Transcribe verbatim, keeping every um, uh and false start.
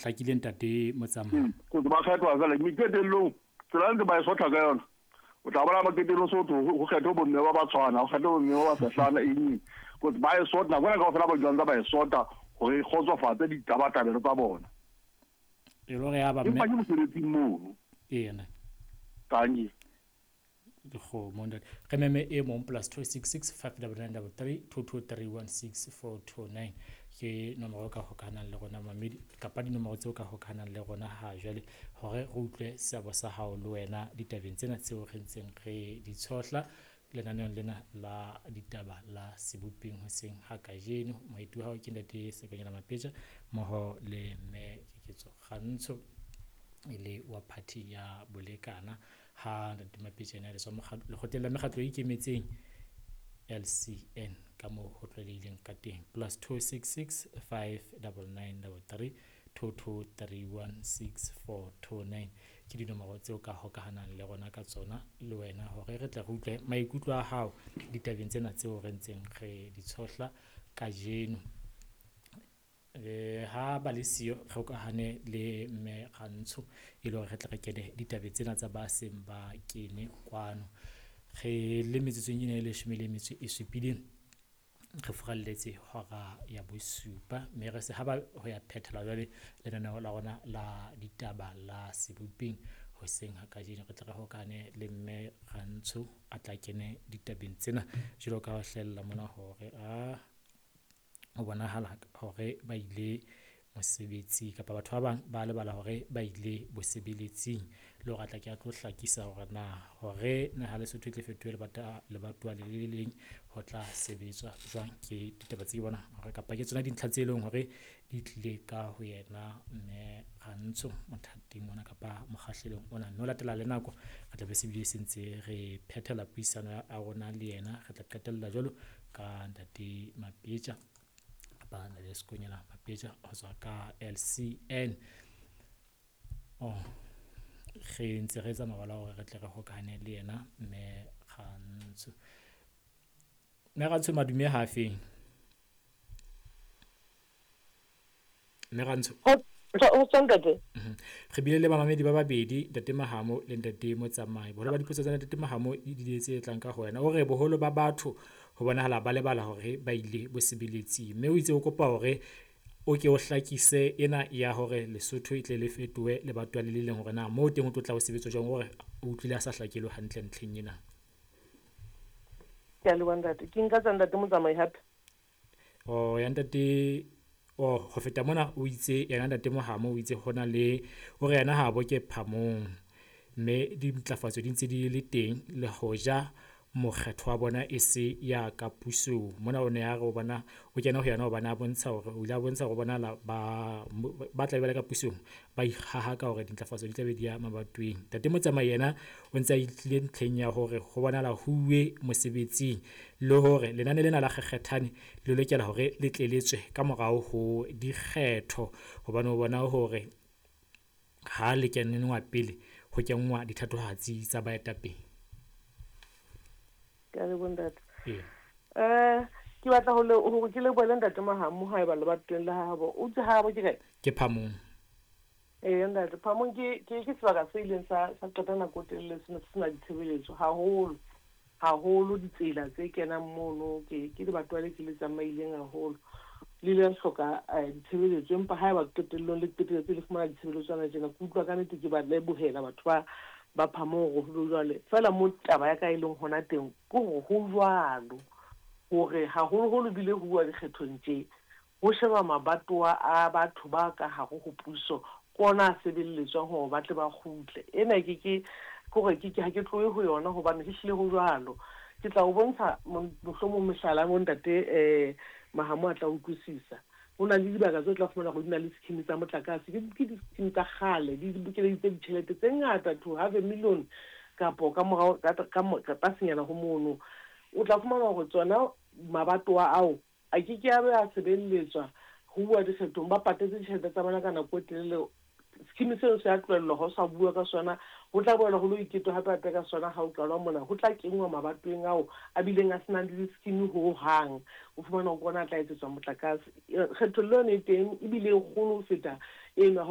Hlakile ntate Motsamai. Go ba kgethwa jwale mme qetellong tsela ntse ba e sotha ka yona. O tla bona ba qetellong so ho kgetho bomme ba ba tshwana, ho kgetho bomme ba ba sehlana eng. Go ba e sotha bona kaofela ba jwang ba e sotha hore kgotsofatse ditabatabelo tsa bona. E le hore ya ba mme. Empa ke mosebetsing mono. Ena. Tangi. Dikgomo ntate. Re meme e mong plus two six six five double nine double three two two three one six four two nine ke nomoro ka hokahanang le rona mamedi kapa dinomoro tseo ka hokahanang le rona ha jwale hore re utlwe seabo sa hao le wena ditabeng tsena tseo re ntseng re di tshohla lenaneong lena la ditaba la Sebopeng hoseng ha kajeno. Moeti wa hao ke ntate Sekonyela Mapetja mmoho le mme Keketso Kgantsho e le wa party ya Bolekana. Ha ntate Mapetja ena le tswa lekgotleng la mekgatlo e ikemetseng L C N ka moo ho tlwaelehileng ka teng. Plus two six six five double nine double three two two three one six four two nine ke dinomoro tseo ka hokahanang le rona ka tsona le wena hore re tle re utlwe maikutlo a hao ditabeng tsena tseo re ntseng re di tshohla kajeno. Eh, ha ba le siyo re hokahane le mme Kgantsho e le hore re tle re kene ditabeng tsena tsa ba seng ba kene kwano. Re le metsotsong ena e leshome le metso e supileng re furalletse hora ya bosupa mme re se ha ba ho ya phethela jwale lenaneo la rona la ditaba la Sebopeng hoseng ha kajeno. Re tle re hokane le mme Kgantsho a tla kene ditabeng tsena jwalo ka ho hlahella mona hore a ho bonahala hore ba ile mosebetsing kapa batho ba bang ba lebala hore ba ile bosebeletsing le hore a tla ke a tlo hlakisa hore na hore naha Lesotho e tle fetohe lebata lebatowa le le leng ho tla sebetswa jwang. Ke ditaba tse ke bona hore kapa ke tsona dintlha tse leng hore di tlile ka ho yena mme Kgantsho mothating ona kapa mokgahlelong ona, mme ho latela le nako re tla be se bile se ntse re phethela puisano ya rona le yena. Re tla qetella jwalo ka ntate Mapetja ba na le Sekonyela Mapetja ho tswa ka L C N. Oh, re ntse re etsa mabala hore re tle re hokahane le yena mme Kgantsho. Mme Kgantsho madume ha feng? Mme Kgantsho. Ho tswa ntate. Re bile le bamamedi ba babedi, ntate Mahamo le ntate Motsamai. Boholo ba dipotso tsa ntate Mahamo di dile tse tlang ka ho wena. O re boholo ba batho ho bonahala ba lebala hore ba ile bosebeletsing, mme o itse o kopa hore o ke o hlakise ena ya hore Lesotho e tle le fetohe lebatowa le le leng, hore na moo teng ho tlo tla ho sebetswa jwang, hore o utlwile a sa hlakelwe hantle ntlheng ena. Ke a leboha ntate. Ke nka tsa ntate Motsamai hape. Oh, ya ntate. Oh, ho feta mona o itse yena ntate Mohamo o itse hona le hore yena ha bo ke phamong mme dintlafatso di ntse di le teng le hoja mokgetho wa bona e se ya ka pusong. Mona o ne a re o bona o kena ho yena hobane a bontsha hore o ile a bontsha hore bona la ba ba tla be ba le ka pusong ba ikgaha ka hore dintlafatso di tla be di ya mabatoweng. Ntate Motsamai yena o ntse a itlile ntlheng ya hore ho bonahala huwe mosebetsing le hore lenane lena la kgekgethane le lokela hore le tle le tswe ka morao ho dikgetho, hobane o bona hore ha le kenngwa pele ho kenngwa dithatohatsi tsa baetapele. Ke a leboha ntate. Ee. Eh, ke batla ho le hore ke lebohele ntate Mahamo haeba lebatoweng la habo. O itse habo ke kae? Ke Phamong. Ee ntate, Phamong ke ke ke sebaka se ileng sa sa qeta nako e telele se ne se sena ditshebeletso haholo. Haholo ditsela tse kenang mono ke ke lebatowa le ke le tsamaileng haholo. Le ile la hloka ditshebeletso empa haeba qetellong le qetelletse le fumana ditshebeletso tsena tjena, ke utlwa ka nnete ke ba lebohela batho ba ba Phamong hore ho jwale. Feela mo taba ya ka e leng hona teng ke hore ho jwalo hore haholoholo bile ho bua dikgethong tje ho sheba mabatowa a batho ba ka hare ho puso ke ona a sebeletswang hore ba tle ba kgutle. Ena ke ke hore ke ke ha ke tlohe ho yona hobane ehlile ho jwalo. Ke tla o bontsha mohlomong mehlala mo ntate eh Mahamo a tla utlwisisa. Ho na le dibaka tse tla fumana hore di na le scheme tsa motlakase, ke ke di-scheme tsa kgale, di bokeleditse ditjhelete tse ngata to half a million kapo ka morao ka ka tlasenyana ho mono. O tla fumana hore tsona mabatowa ao a ke ke a be a sebeletswa ho bua dikgethong, ba patetse ditjhelete tsa bona ka nako e telele Scheme seno se a tlohellwa, ha o sa bua ka sona, ho tla boela ho lo iketwa hape hape ka sona ha o qalwa mona. Ho tla kenngwa mabatoweng ao a bileng a senang le di-scheme hohang, o fumana hore ke ona a tla etsetswa motlakase. Kgethollo yone e teng, ebile e kgolo ho feta eno ya hore